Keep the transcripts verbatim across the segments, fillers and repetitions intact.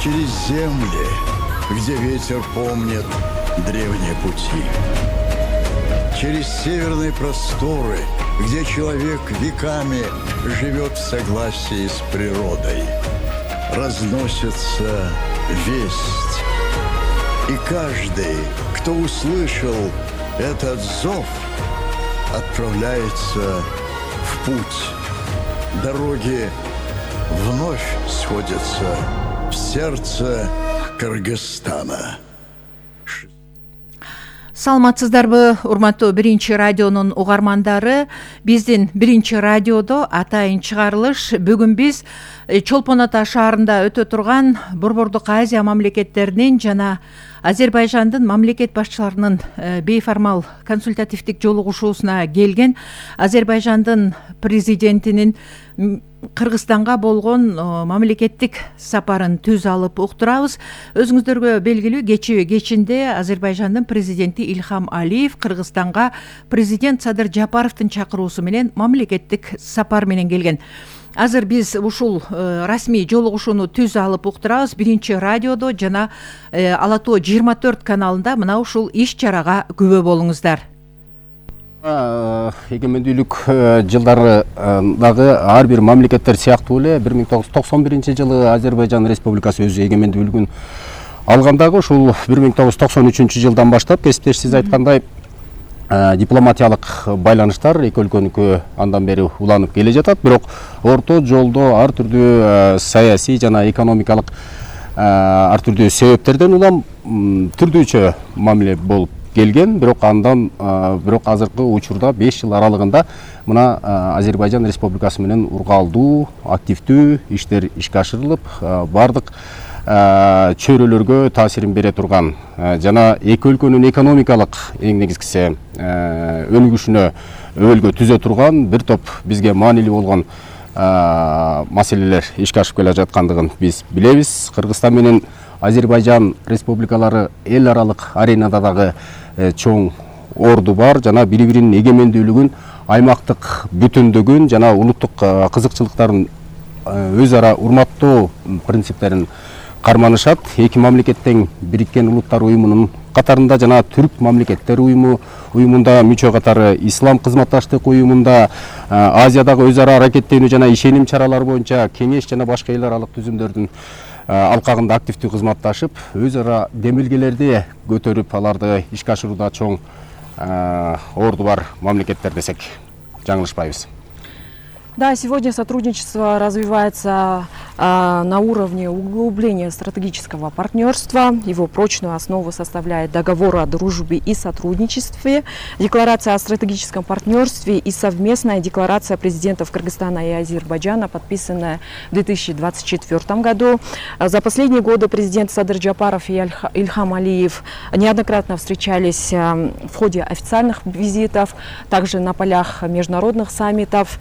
через земли, где ветер помнит древние пути. Через северные просторы, где человек веками живет в согласии с природой. Разносится весть. И каждый, кто услышал этот зов, отправляется в путь. Дороги вновь сходятся в сердце Кыргызстана. Саламатсыздарбы, урматтуу биринчи радионун угармандары. Биздин биринчи радиодо атайын чыгарылыш. Бүгүн биз Чолпон Ата шаарында өтө турган Борбордук Азия мамлекеттеринин жана Азербайжандын мамлекет башчыларынын бейформал консультативдик жолугушуусуна келген Азербайжандын президентинин Кыргызстанга болгон мамлекеттик сапарын түз алып уктурабыз. Өзүңүздөргө белгилүү, кечээ кечинде Азербайжандын президенти Ильхам Алиев Кыргызстанга президент Садыр Жапаровдун чакыруусу менен мамлекеттик сапар менен келген. Азыр биз ушул расмий жолугушууну түз алып уктурабыз. Биринчи радиодо жана Ала Тоо жыйырма төрт каналында мына ушул иш чарага күбө болуңуздар. Эгемендүүлүк жылдарындагы ар бир мамлекеттер сыяктуу эле бир миң тогуз жүз токсон биринчи жылы Азербайжан Республикасы өзү эгемендүүлүгүн алгандагы ушул бир миң тогуз жүз токсон үчүнчү жылдан баштап кесиптеш сиз айткандай дипломатиялык байланыштар эки өлкөнүкү андан бери уланып келе жатат. Бирок орто жолдо ар түрдүү саясий жана экономикалык ар түрдүү себептерден улам түрдүүчө мамиле болуп келген. Бирок андан бирок азыркы учурда беш жыл аралыгында мына Азербайжан Республикасы менен ургаалдуу, активдүү иштер ишке ашырылып, бардык чөйрөлөргө таасирин бере турган жана эки өлкөнүн экономикалык эң негизгиси өнүгүшүнө өбөлгө түзө турган бир топ бизге маанилүү болгон маселелер ишке ашып келе жаткандыгын биз билебиз. Кыргызстан менен Азербайжан республикалары эл аралык аренада дагы чоң орду бар жана бири-биринин эгемендүүлүгүн, аймактык бүтүндүгүн жана улуттук кызыкчылыктарын өз ара урматтоо принциптерин карманышат. Эки мамлекеттен Бириккен Улуттар уюмунун катарында жана Түрк мамлекеттер уюму уюмунда мүчө катары Ислам кызматташтык уюмунда Азиядагы өз ара аракеттенүү жана ишеним чаралары боюнча кеңеш жана башка эл аралык түзүмдөрдүн алкагында активдүү кызматташып, өз ара демилгелерди көтөрүп, аларды ишке ашырууда чоң орду бар мамлекеттер десек жаңылышпайбыз. Да, сегодня сотрудничество развивается а, на уровне углубления стратегического партнерства. Его прочную основу составляет договор о дружбе и сотрудничестве, декларация о стратегическом партнерстве и совместная декларация президентов Кыргызстана и Азербайджана, подписанная в две тысячи двадцать четвёртом году. За последние годы президент Садыр Жапаров и Ильхам Алиев неоднократно встречались в ходе официальных визитов, также на полях международных саммитов.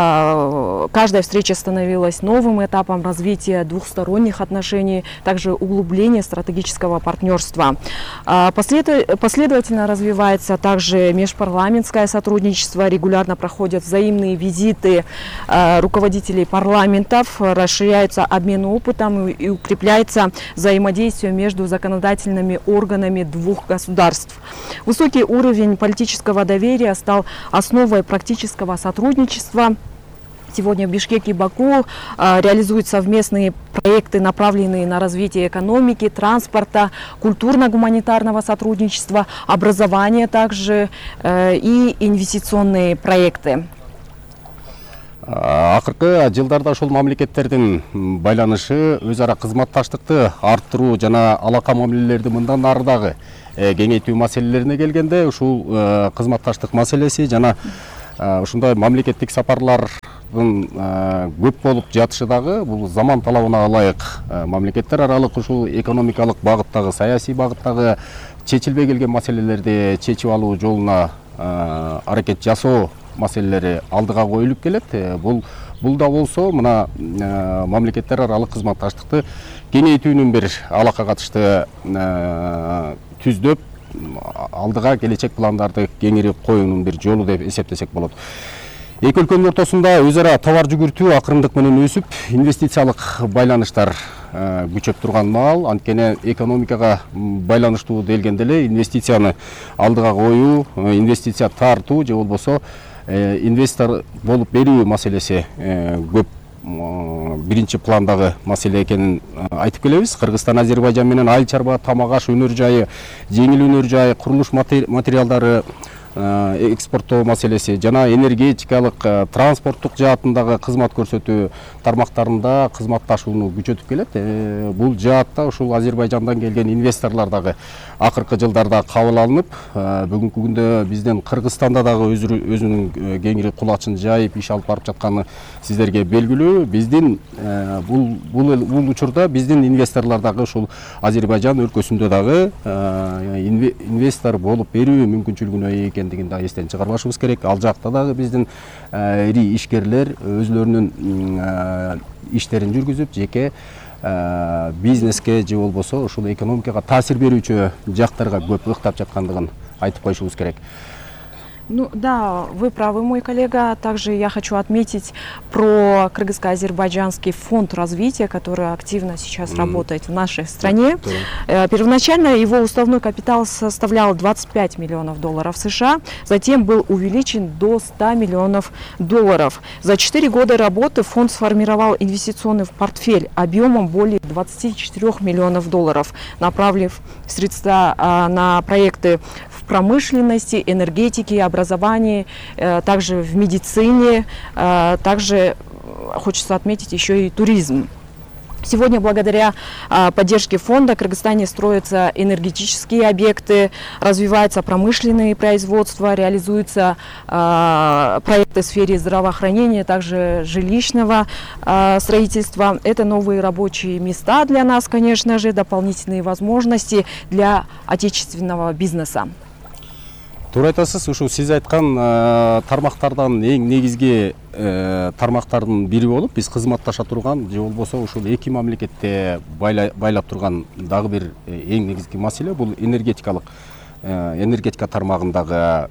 Каждая встреча становилась новым этапом развития двухсторонних отношений, также углубления стратегического партнерства. Последовательно развивается также межпарламентское сотрудничество, регулярно проходят взаимные визиты руководителей парламентов, расширяется обмен опытом и укрепляется взаимодействие между законодательными органами двух государств. Высокий уровень политического доверия стал основой практического сотрудничества. Сегодня в Бишкеке и Баку а, реализуют совместные проекты, направленные на развитие экономики, транспорта, культурно-гуманитарного сотрудничества, образования также э, и инвестиционные проекты. Акыркы жылдарда ошол мамлекеттердин байланышы өз ара кызматташтыкты арттыруу жана алака мамилелерди мындан ары дагы кеңейтүү маселелерине келгенде ушул кызматташтык маселеси жана ушундай мамлекеттик сапарлардын көп болуп жатышы дагы бул заман талабына ылайык мамлекеттер аралык ушул экономикалык багыттагы, саясий багыттагы чечилбей келген маселелерди чечип алуу жолуна аракет жасоо маселелери алдыга коюлуп келет. Бул бул да болсо мына мамлекеттер аралык кызматташтыкты кеңейтүүнүн бир алака катышты түздөп алдыга келечек пландарды кеңири коюунун бир жолу деп эсептесек болот. Эки өлкөнүн ортосунда өз ара товар жүгүртүү акырындык менен өсүп, инвестициялык байланыштар күчөп турган маал, анткени экономикага байланыштуу делгенде эле инвестицияны алдыга коюу, инвестиция тартуу же болбосо инвестор болуп берүү маселеси көп биринчи пландагы маселе экенин айтып келебиз. Кыргызстан Азербайжан менен айыл чарба, тамак аш өнөр жайы, жеңил өнөр жайы, курулуш материалдары экспорттоо маселеси жана энергетикалык, транспорттук жаатындагы кызмат көрсөтүү тармактарында кызматташууну күчөтүп келет. Бул жаатта ушул Азербайжандан келген инвесторлор дагы акыркы жылдарда кабыл алынып, бүгүнкү күндө бизден Кыргызстанда дагы өзүнүн кеңири кулачын жайып иш алып барып жатканы сиздерге белгилүү. Биздин бул бул бул учурда биздин инвесторлор дагы ушул Азербайжан өлкөсүндө дагы инвестор болуп берүү мүмкүнчүлүгүнө ээ экендигин да эстен чыгарбашыбыз керек. Ал жакта дагы биздин ири ишкерлер өзлөрүнүн иштерин жүргүзүп, жеке бизнеске же болбосо ушул экономикага таасир берүүчү жактарга көп ыктап жаткандыгын айтып коюшубуз керек. Ну да, вы правы, мой коллега. Также я хочу отметить про Кыргызско-Азербайджанский фонд развития, который активно сейчас mm. работает в нашей стране. Yeah. Первоначально его уставной капитал составлял двадцать пять миллионов долларов США, затем был увеличен до ста миллионов долларов. За четыре года работы фонд сформировал инвестиционный портфель объемом более двадцати четырёх миллионов долларов, направив средства на проекты в промышленности, энергетике, образовании, также в медицине, также хочется отметить еще и туризм. Сегодня благодаря поддержке фонда в Кыргызстане строятся энергетические объекты, развиваются промышленные производства, реализуются проекты в сфере здравоохранения, также жилищного строительства. Это новые рабочие места для нас, конечно же, дополнительные возможности для отечественного бизнеса. Туура айтасыз, ушул сиз айткан тармактардан эң негизги тармактардын бири болуп биз кызматташа турган же болбосо ушул эки мамлекетте байлап турган дагы бир эң негизги маселе бул энергетикалык энергетика тармагындагы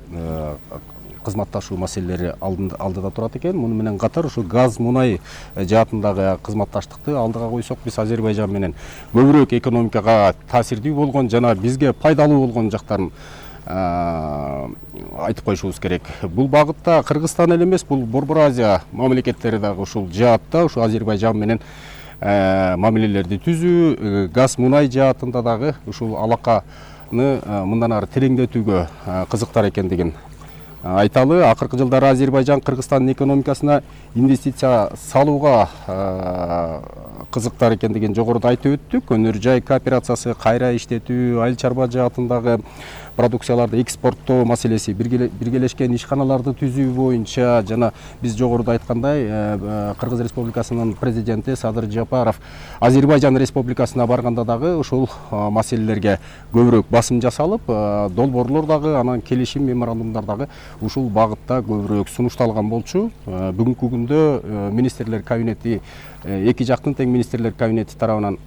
кызматташуу маселелери алдыда турат экен. Муну менен катар ушул газ, мунай жаатындагы кызматташтыкты алдыга койсок, биз Азербайжан менен көбүрөөк экономикага таасирдүү болгон жана бизге пайдалуу болгон жактарын айтып коюшубуз керек. Бул багытта Кыргызстан эле эмес, бул Борбор Азия мамлекеттери дагы ушул жаатта ушул Азербайжан менен мамилелерди түзүү, газ, мунай жаатында дагы ушул алаканы мындан ары тереңдетүүгө кызыктар экендигин айталы. Акыркы жылдары Азербайжан Кыргызстандын экономикасына инвестиция салууга кызыктар экендигин жогоруда айтып өттүк. Өнөр жай кооперациясы, кайра иштетүү, айыл чарба жаатындагы продукцияларды экспорттоо маселеси, биргелешкен ишканаларды түзүү боюнча жана биз жогоруда айткандай Кыргыз Республикасынын президенти Садыр Жапаров Азербайжан Республикасына барганда дагы ушул маселелерге көбүрөөк басым жасалып, долбоорлор дагы, анан келишим меморандумдар дагы ушул багытта көбүрөөк сунушталган болчу. Бүгүнкү күндө министрлер кабинети, эки жактын тең министрлер кабинети тарабынан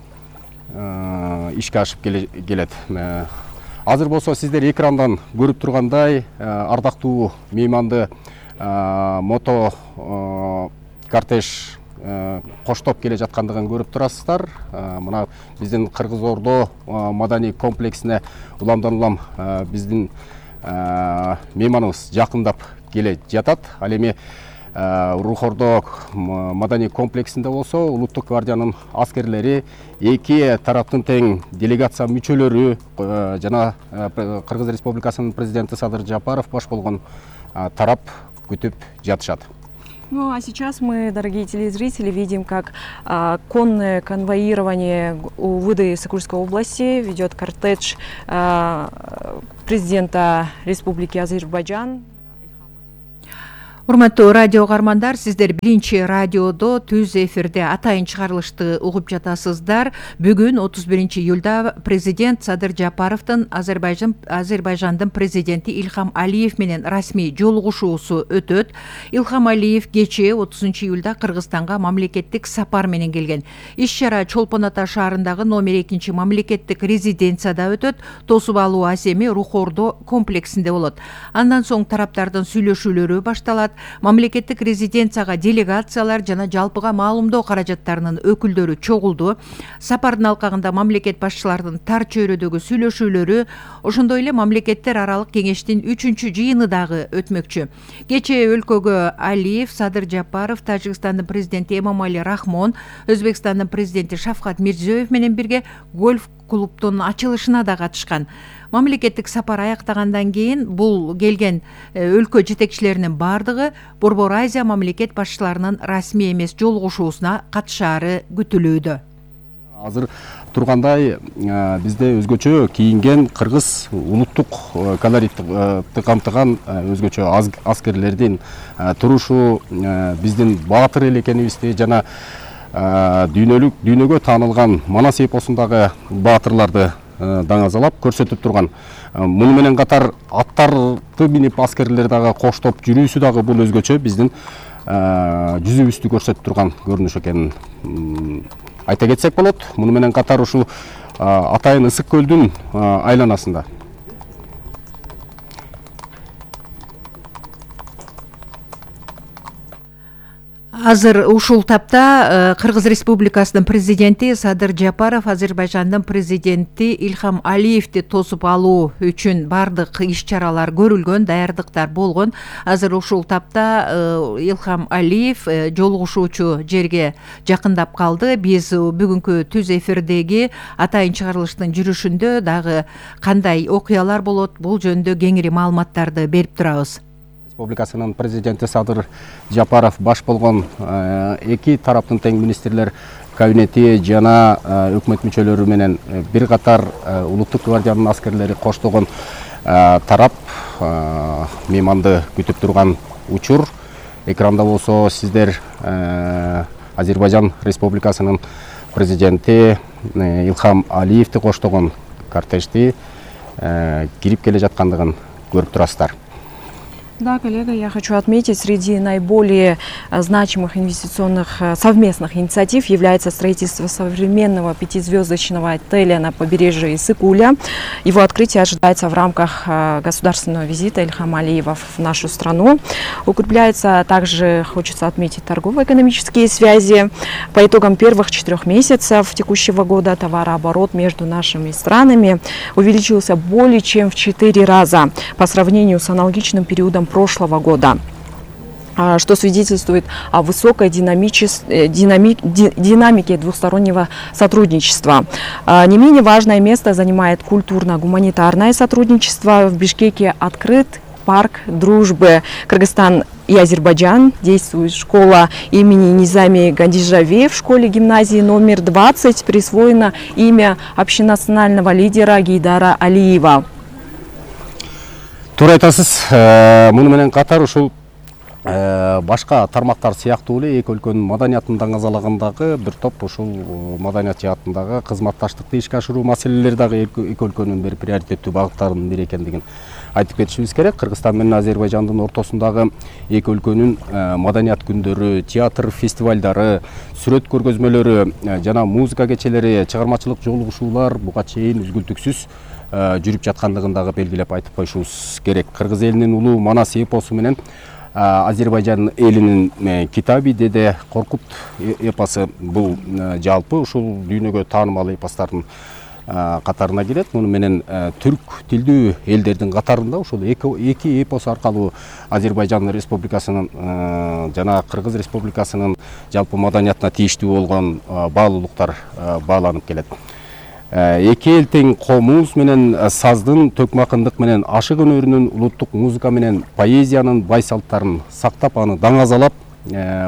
ишке ашып келет. Азыр болсо сиздер экрандан көрүп тургандай ардактуу мейманды мото кортеж коштоп келе жаткандыгын көрүп турасыздар. Мына биздин Кыргыз Ордо маданий комплексине уламдан улам биздин мейманыбыз жакындап келе жатат. Ал эми Рухордо маданий комплексинде болсо Улуттук гвардиянын аскерлери, эки тараптын тең делегация мүчөлөрү жана Кыргыз Республикасынын президенти Садыр Жапаров баш болгон тарап күтүп жатышат. Ну а сейчас мы, дорогие телезрители, видим, как а, конное конвоирование у выдачи Сокульской области ведет кортеж а, президента Республики Азербайджан. Урматтуу радио угармандар, сиздер биринчи радиодо түз эфирде атайын чыгарылышты угуп жатасыздар. Бүгүн отуз биринчи июлда президент Садыр Жапаровдун Азербайжан Азербайжандын президенти Илхам Алиев менен расмий жолугушуусу өтөт. Илхам Алиев кечээ отузунчу июлда Кыргызстанга мамлекеттик сапар менен келген. Иш-чара Чолпон Ата шаарындагы номер экинчи мамлекеттик резиденцияда өтөт. Тосуп алуу асеми Рухордо комплексинде болот. Андан соң тараптардын сүйлөшүүлөрү башталат. мамлекеттик резиденцияга делегациялар жана жалпыга маалымдоо каражаттарынын өкүлдөрү чогулду. Сапардын алкагында мамлекет башчыларынын тар чөйрөдөгү сүйлөшүүлөрү, ошондой эле мамлекеттер аралык кеңештин үчүнчү жыйыны дагы өтмөкчү. Кечээ өлкөгө Алиев, Садыр Жапаров, Тажикстандын президенти Эмомали Рахмон, Өзбекстандын президенти Шавкат Мирзиёев менен бирге гольф клубдун ачылышына да катышкан. Мамлекеттик сапар аяктагандан кийин бул келген өлкө жетекчилеринин бардыгы Борбор Азия мамлекет башчыларынын расмий эмес жолугушуусуна катышаары күтүлүүдө. Азыр тургандай бизде өзгөчө кийинген кыргыз улуттук колоритти камтыган өзгөчө аскерлердин турушу биздин баатыр эл экенибизди жана дүйнөлүк дүйнөгө таанылган Манас эпосундагы баатырларды даңазалап көрсөтүп турган. Муну менен катар аттарды минип аскерлер дагы коштоп жүрүүсү дагы бул өзгөчө биздин жүзүбүздү көрсөтүп турган көрүнүш экенин айта кетсек болот. Муну менен катар ушул Атайын Ысык көлдүн айланасында Азыр ушул тапта Кыргыз Республикасынын президенти Садыр Жапаров Азербайжандын президенти Ильхам Алиевди тосуп алуу үчүн бардык иш-чаралар көрүлгөн, даярдыктар болгон. Азыр ушул тапта Ильхам Алиев жолугушуучу жерге жакындап калды. Биз бүгүнкү түз эфирдеги атайын чыгарылыштын жүрүшүндө дагы кандай окуялар болот, бул жөнүндө кеңири маалыматтарды берип турабыз. Республикасынын президенти Садыр Жапаров баш болгон эки тараптын тең министрлер кабинети жана өкмөт мүчөлөрү менен бир катар улуттук гвардиянын аскерлери коштогон тарап мейманды күтүп турган учур. Экранда болсо сиздер Азербайжан Республикасынын президенти Ильхам Алиевди коштогон кортежди кирип келе жаткандыгын көрүп турасыздар. Да, коллега, я хочу отметить, среди наиболее значимых инвестиционных совместных инициатив является строительство современного пятизвездочного отеля на побережье Иссык-Куля. Его открытие ожидается в рамках государственного визита Ильхама Алиева в нашу страну. Укрепляется также, хочется отметить, торгово-экономические связи. По итогам первых четырех месяцев текущего года товарооборот между нашими странами увеличился более чем в четыре раза по сравнению с аналогичным периодом прошлого года, что свидетельствует о высокой динамике двухстороннего сотрудничества. Не менее важное место занимает культурно-гуманитарное сотрудничество. В Бишкеке открыт парк дружбы Кыргызстан и Азербайджан. Действует школа имени Низами Гандижави. В школе-гимназии номер двадцать присвоено имя общенационального лидера Гейдара Алиева. Туура айтасыз. Муну менен катар ушул башка тармактар сыяктуу эле эки өлкөнүн маданиятын даңазалагандагы бир топ ушул маданият жаатындагы кызматташтыкты ишке ашыруу маселелери дагы эки өлкөнүн бир приоритеттүү багыттарынын бири экендигин айтып кетишибиз керек. Кыргызстан менен Азербайжандын ортосундагы эки өлкөнүн маданият күндөрү, театр фестивалдары, сүрөт көргөзмөлөрү жана музыка кечелери, чыгармачылык жолугушуулар буга чейин үзгүлтүксүз жүрүп жаткандыгын дагы белгилеп айтып коюшубуз керек. Кыргыз элинин улуу Манас эпосу менен Азербайжан элинин Китаби Деде Коркут эпосу бул жалпы ушул дүйнөгө таанымал эпостардын катарына кирет. Муну менен түрк тилдүү элдердин катарында ушул эки эпос аркылуу Азербайжан Республикасынын жана Кыргыз Республикасынын жалпы маданиятына тийиштүү болгон баалуулуктар бааланып келет. Эки эл тең комуз менен саздын, төкмакындык менен ашык өнөрүнүн, улуттук музыка менен поэзиянын бай салттарын сактап, аны даңазалап,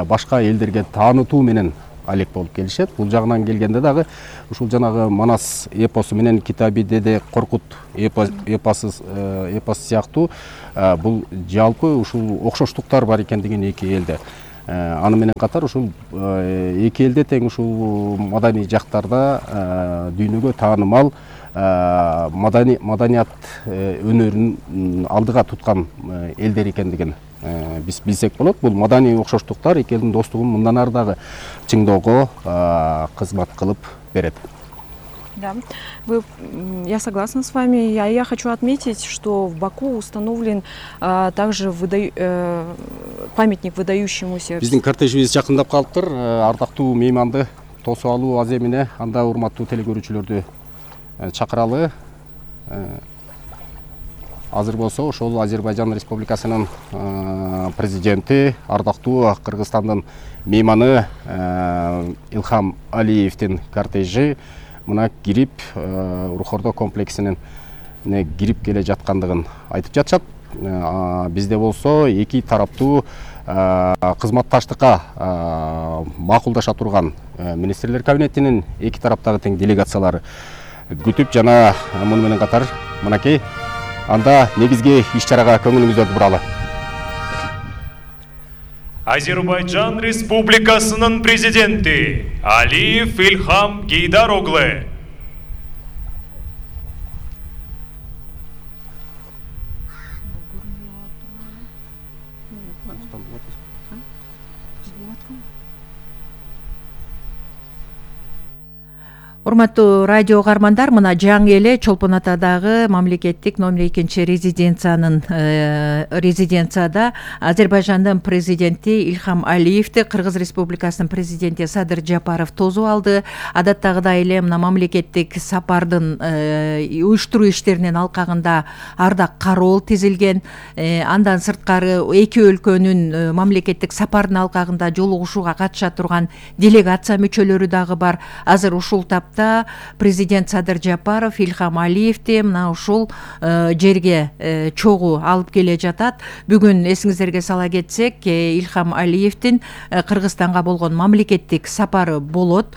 башка элдерге таанытуу менен алек болуп келишет. Бул жагынан келгенде дагы ушул жанагы Манас эпосу менен Китаби Деде Коркут эпосу сыяктуу бул жалпы ушул окшоштуктар бар экендигин эки элде. Аны менен катар ушул эки элде тең ушул маданий жактарда дүйнөгө таанымал маданият өнөрүн алдыга туткан элдер экендигин биз билсек болот. Бул маданий окшоштуктар эки элдин достугун мындан ары дагы чыңдоого кызмат кылып берет. Да, вы, я согласна с вами. Я, я хочу отметить, что в Баку установлен а, также выда... э, памятник выдающемуся. Биздин кортежибиз жакындап калыптыр. Ардактуу мейманды тосуп алуу аз эмне. Анда урматтуу телекөрүүчүлөрдү чакыралы. Азыр болсо ошол Азербайжан Республикасынын президенти, ардактуу Кыргызстандын мейманы Илхам Алиевдин кортежи мына кирип Урухордо комплексинин кирип келе жаткандыгын айтып жатышат. Бизде болсо эки тараптуу кызматташтыкка макулдаша турган министрлер кабинетинин эки тараптагы тең делегациялары күтүп жана муну менен катар мынакей анда негизги иш-чарага көңүлүңүздөрдү буралы. Азербайджан Республикасынын президенти Алиев Илхам Гейдар оглу. Урматтуу радио угармандар, мына жаңы эле Чолпон Атадагы мамлекеттик номер экинчи резиденциянын резиденцияда Азербайжандын президенти Илхам Алиевди Кыргыз Республикасынын президенти Садыр Жапаров тосуп алды. Адаттагыдай эле мына мамлекеттик сапардын уюштуруу иштеринин алкагында Ардак Кароол тизилген. Андан сырткары эки өлкөнүн мамлекеттик сапардын алкагында жолугушууга катыша турган делегация мүчөлөрү дагы бар. Азыр ушул тапта президент Садыр Жапаров Илхам Алиевди мына ушул жерге чогуу алып келе жатат. Бүгүн эсиңиздерге сала кетсек, Илхам Алиевдин Кыргызстанга болгон мамлекеттик сапары болот.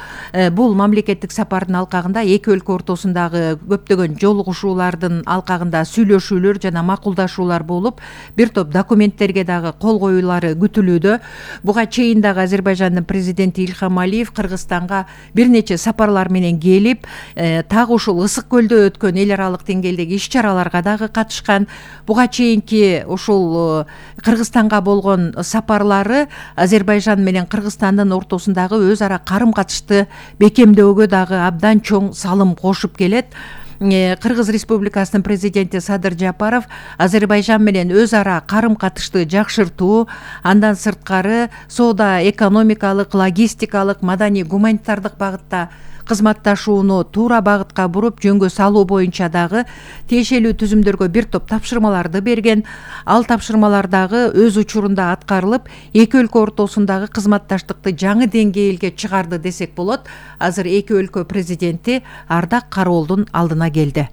Бул мамлекеттик сапардын алкагында эки өлкө ортосундагы көптөгөн жолугушуулардын алкагында сүйлөшүүлөр жана макулдашуулар болуп, бир топ документтерге дагы кол коюулары күтүлүүдө. Буга чейин дагы Азербайжандын президенти Илхам Алиев Кыргызстанга бир нече сапарлар менен келип, так ушул Ысык көлдө өткөн эл аралык деңгээлдеги иш-чараларга дагы катышкан. Буга чейинки ушул Кыргызстанга болгон сапарлары Азербайжан менен Кыргызстандын ортосундагы өз ара карым-катышты бекемдөөгө дагы абдан чоң салым кошуп келет. Кыргыз Республикасынын президенти Садыр Жапаров Азербайжан менен өз ара карым-катышты жакшыртуу, андан сырткары соода, экономикалык, логистикалык, маданий, гуманитардык багытта кызматташууну туура багытка буруп жөнгө салуу боюнча дагы тиешелүү түзүмдөргө бир топ тапшырмаларды берген. Ал тапшырмалар дагы өз учурунда аткарылып, эки өлкө ортосундагы кызматташтыкты жаңы деңгээлге чыгарды десек болот. Азыр эки өлкө президенти Ардак Кароолдун алдына келди.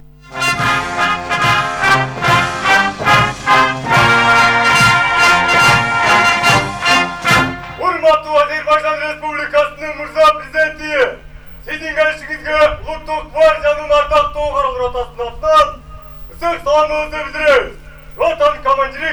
Урматтуу Азербайжан Республикасынын мырза президенти, сиздин келишиңизге улуттук бар жанын ардактуу каралыр атасынын атынан ысык саламыбызды билдиребиз. Ватан командири